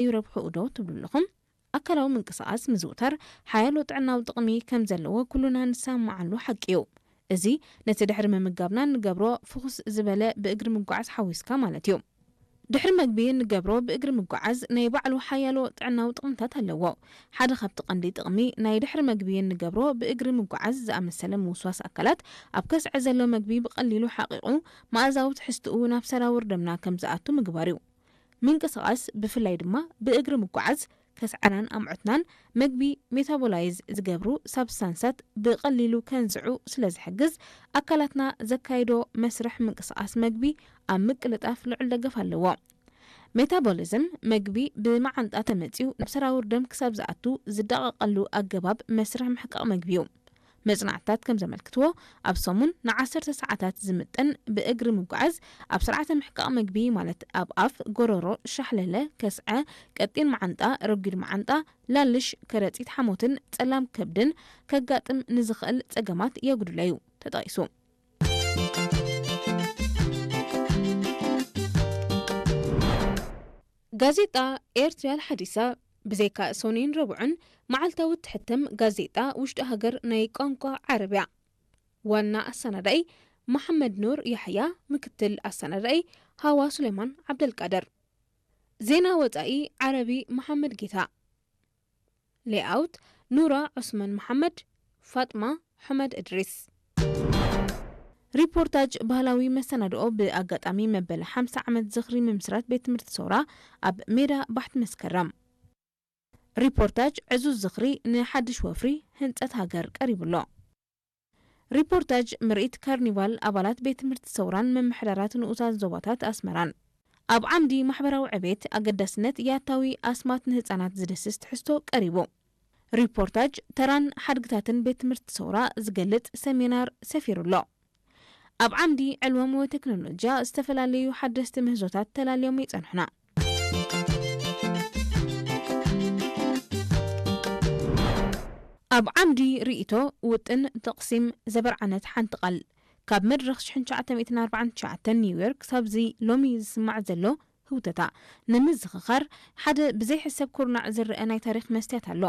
ይረብሕኡ ዶ ትብሉ ኣለኹም? ኣካላዊ ምንቅስቓስ ምዝውታር ሓያሎ ጥዕናዊ ጥቕሚ ከም ዘለዎ ኩሉና ንሰማማዓሉ ሓቂ እዩ። እዚ ነቲ ድሕሪ ምምጋብና እንገብሮ ፍኹስ ዝበለ ብእግሪ ምጓዓዝ ሓዊስካ ማለት እዩ። ድሕሪ መግቢ እንገብሮ ብእግሪ ምጓዓዝ ናይ ባዕሉ ሓያሎ ጥዕናዊ ጥቕምታት ኣለዎ። ሓደ ካብቲ ቀንዲ ጥቕሚ ናይ ድሕሪ መግቢ እንገብሮ ብእግሪ ምጓዓዝ ዝኣመሰለ ምውስዋስ ኣካላት ኣብ ከስዐ ዘሎ መግቢ ብቐሊሉ ሓቒቑ መኣዛዊ ትሕዝትኡ ናብ ሰራውር ደምና ከም ዝኣቱ ምግባር እዩ። ምንቅስቓስ ብፍላይ ድማ ብእግሪ ምጓዓዝ ከስዐናን ኣምዑትናን መግቢ ሜታቦላይዝ ዝገብሩ ሳብስታንሳት ብቐሊሉ ከንስዑ ስለ ዝሕግዝ ኣካላትና ዘካይዶ መስርሕ ምንቅስቓስ መግቢ ኣብ ምቅልጣፍ ልዑል ደገፍ ኣለዎ። ሜታቦሊዝም መግቢ ብመዓንጣ ተመፅዩ ናብ ሰራውር ደም ክሳብ ዝኣቱ ዝዳቐቐሉ ኣገባብ መስርሕ ምሕቃቕ መግቢ እዩ። መጽናዕትታት ከም ዘመልክትዎ ኣብ ሰሙን ንዓሰርተ ሰዓታት ዝምጥን ብእግሪ ምጓዓዝ ኣብ ስርዓተ ምሕቃቕ መግቢ ማለት ኣብ ኣፍ፣ ጎረሮ፣ ሻሕለለ፣ ከስዐ፣ ቀጢን መዓንጣ፣ ረጒድ መዓንጣ፣ ላልሽ፣ ከረጺት ሓሞትን ጸላም ከብድን ከጋጥም ንዝኽእል ጸገማት የጉድሎ እዩ ተጠቒሱ። ጋዜጣ ኤርትርያ ሓዲሳ ብዘይካ ሶኒን ረቡዕን መዓልታዊ እትሕተም ጋዜጣ ውሽጢ ሃገር ናይ ቋንቋ ዓረብያ። ዋና ኣሰናዳኢ መሓመድ ኑር ያሕያ፣ ምክትል ኣሰናዳኢ ሃዋ ሱሌማን ዓብደልቃድር። ዜና ወጻኢ ዓረቢ መሓመድ ጌታ። ሌኣውት ኑራ ዑስማን መሓመድ፣ ፋጥማ ሑመድ እድሪስ። ሪፖርታጅ ባህላዊ መሰናድኦ ብኣጋጣሚ መበል ሓምሳ ዓመት ዝኽሪ ምምስራት ቤት ትምህርቲ ሰውራ ኣብ ሜዳ ባሕቲ መስከረም። ሪፖርታጅ ዕዙዝ ዝኽሪ ንሓድሽ ወፍሪ ህንጸት ሃገር ቀሪቡ ኣሎ። ሪፖርታጅ ምርኢት ካርኒቫል ኣባላት ቤት ትምህርቲ ሰውራን ምምሕዳራት ንኡሳን ዞባታት ኣስመራን። ኣብ ዓምዲ ማሕበራዊ ዕቤት ኣገዳስነት ያታዊ ኣስማት ንህጻናት ዝድስስ ትሕዝቶ ቀሪቡ። ሪፖርታጅ ተራን ሓድግታትን ቤት ትምህርቲ ሰውራ ዝገልጽ ሰሚናር ሰፊሩ ኣሎ። ኣብ ዓምዲ ዕልወም ወይ ቴክኖሎጂያ ዝተፈላለዩ ሓደስቲ ምህዞታት ተላልዮም ይጸንሑና። ኣብ ዓምዲ ርእይቶ ውጥን ተቕሲም ዘበርዓነት ሓንቲ ቃል ካብ መድረኽ ሽሕን ትሽዓተ ሚእትን ኣርባዓን ትሽዓተን ኒውዮርክ ክሳብዚ ሎሚ ዝስማዕ ዘሎ ህውተታ ንምዝኽኻር ሓደ ብዘይሕሰብ ኩርናዕ ዝረአ ናይ ታሪኽ መስትያት ኣሎ።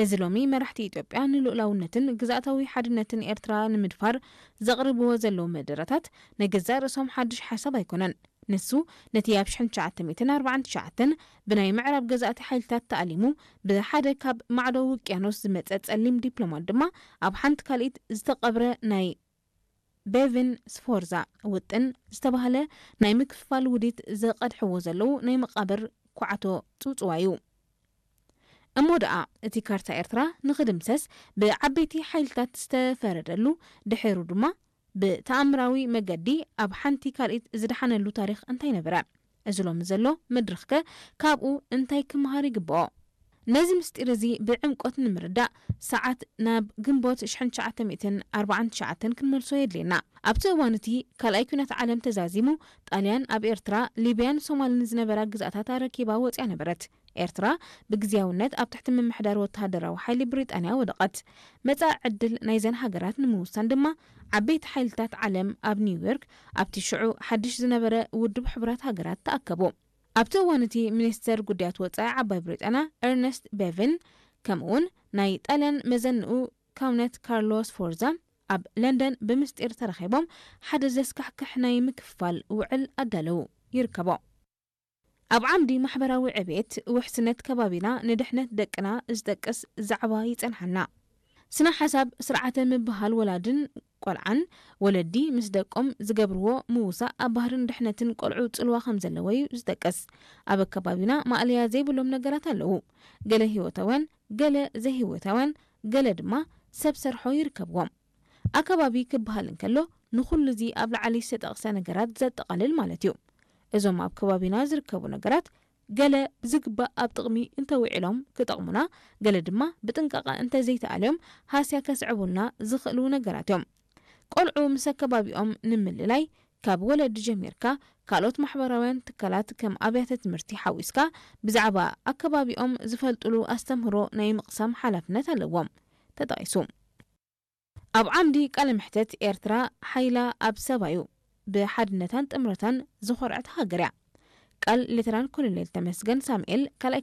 እዚ ሎሚ መራሕቲ ኢትዮጵያ ንልኡላውነትን ግዝኣታዊ ሓድነትን ኤርትራ ንምድፋር ዘቕርብዎ ዘለዉ መደረታት ናይ ገዛእ ርእሶም ሓድሽ ሓሳብ ኣይኮነን። ንሱ ነቲ ኣብ ሽሕን ትሽዓተ ሚእትን ኣርባዓን ትሽዓተን ብናይ ምዕራብ ገዛእቲ ሓይልታት ተኣሊሙ ብሓደ ካብ ማዕዶ ውቅያኖስ ዝመጸ ጸሊም ዲፕሎማት ድማ ኣብ ሓንቲ ካልኢት ዝተቐብረ ናይ ቤቪን ስፎርዛ ውጥን ዝተባህለ ናይ ምክፍፋል ውዲት ዘቐድሕዎ ዘለዉ ናይ መቓብር ኩዓቶ ጽውጽዋይ እዩ። እሞ ደኣ እቲ ካርታ ኤርትራ ንኽድምሰስ ብዓበይቲ ሓይልታት ዝተፈረደሉ፣ ድሒሩ ድማ ብተኣምራዊ መገዲ ኣብ ሓንቲ ካልኢት ዝደሓነሉ ታሪኽ እንታይ ነበረ? እዚ ሎሚ ዘሎ መድረኽከ ካብኡ እንታይ ክመሃር ይግብኦ? ነዚ ምስጢር እዚ ብዕምቆት ንምርዳእ ሰዓት ናብ ግንቦት ሽሕን ትሽዓተ ሚእትን ኣርባዓን ትሽዓተን ክንመልሶ የድልየና። ኣብቲ እዋን እቲ ካልኣይ ኲናት ዓለም ተዛዚሙ፣ ጣልያን ኣብ ኤርትራ፣ ሊብያን ሶማልን ዝነበራ ግዝኣታት ኣረኪባ ወጽያ ነበረት። ኤርትራ ብግዝያውነት ኣብ ትሕቲ ምምሕዳር ወተሃደራዊ ሓይሊ ብሪጣንያ ወደቐት። መጻኢ ዕድል ናይዘን ሃገራት ንምውሳን ድማ ዓበይቲ ሓይልታት ዓለም ኣብ ኒውዮርክ ኣብቲ ሽዑ ሓድሽ ዝነበረ ውድብ ሕቡራት ሃገራት ተኣከቡ። ኣብቲ እዋን እቲ ሚኒስተር ጉዳያት ወጻኢ ዓባይ ብሪጣንያ ኤርነስት ቤቪን ከምኡውን ናይ ጣልያን መዘንኡ ካውነት ካርሎ ስፎርዛ ኣብ ለንደን ብምስጢር ተራኺቦም ሓደ ዘስካሕክሕ ናይ ምክፍፋል ውዕል ኣዳለዉ ይርከቦ። ኣብ ዓምዲ ማሕበራዊ ዕቤት ውሕስነት ከባቢና ንድሕነት ደቅና ዝጠቅስ ዛዕባ ይጸንሓና። ስነ ሓሳብ ስርዓተ ምብሃል ወላድን ቆልዓን ወለዲ ምስ ደቆም ዝገብርዎ ምውሳእ ኣብ ባህርን ድሕነትን ቆልዑ ጽልዋ ከም ዘለዎ እዩ ዝጠቅስ። ኣብ ኣከባቢና ማእለያ ዘይብሎም ነገራት ኣለዉ። ገለ ህይወታውያን፣ ገለ ዘይህይወታውያን፣ ገለ ድማ ሰብ ሰርሖ ይርከብዎም። ኣከባቢ ክበሃል እንከሎ ንኹሉ እዚ ኣብ ላዕሊ ዝተጠቕሰ ነገራት ዘጠቓልል ማለት እዩ። እዞም ኣብ ከባቢና ዝርከቡ ነገራት ገለ ብዝግባእ ኣብ ጥቕሚ እንተውዒሎም ክጠቕሙና፣ ገለ ድማ ብጥንቃቐ እንተዘይተኣልዮም ሃስያ ከስዕቡልና ዝኽእሉ ነገራት እዮም። ቆልዑ ምስ ኣከባቢኦም ንምልላይ ካብ ወለዲ ጀሚርካ ካልኦት ማሕበራውያን ትካላት ከም ኣብያተ ትምህርቲ ሓዊስካ ብዛዕባ ኣከባቢኦም ዝፈልጥሉ ኣስተምህሮ ናይ ምቕሳም ሓላፍነት ኣለዎም። ተጠቒሱ። ኣብ ዓምዲ ቃለ መሕተት ኤርትራ ሓይላ ኣብ ሰባዩ ብሓድነታን ጥምረታን ዝኾርዐት ሃገር እያ። ቃል ሌተናል ኮሎኔል ተመስገን ሳሙኤል ካልኣይ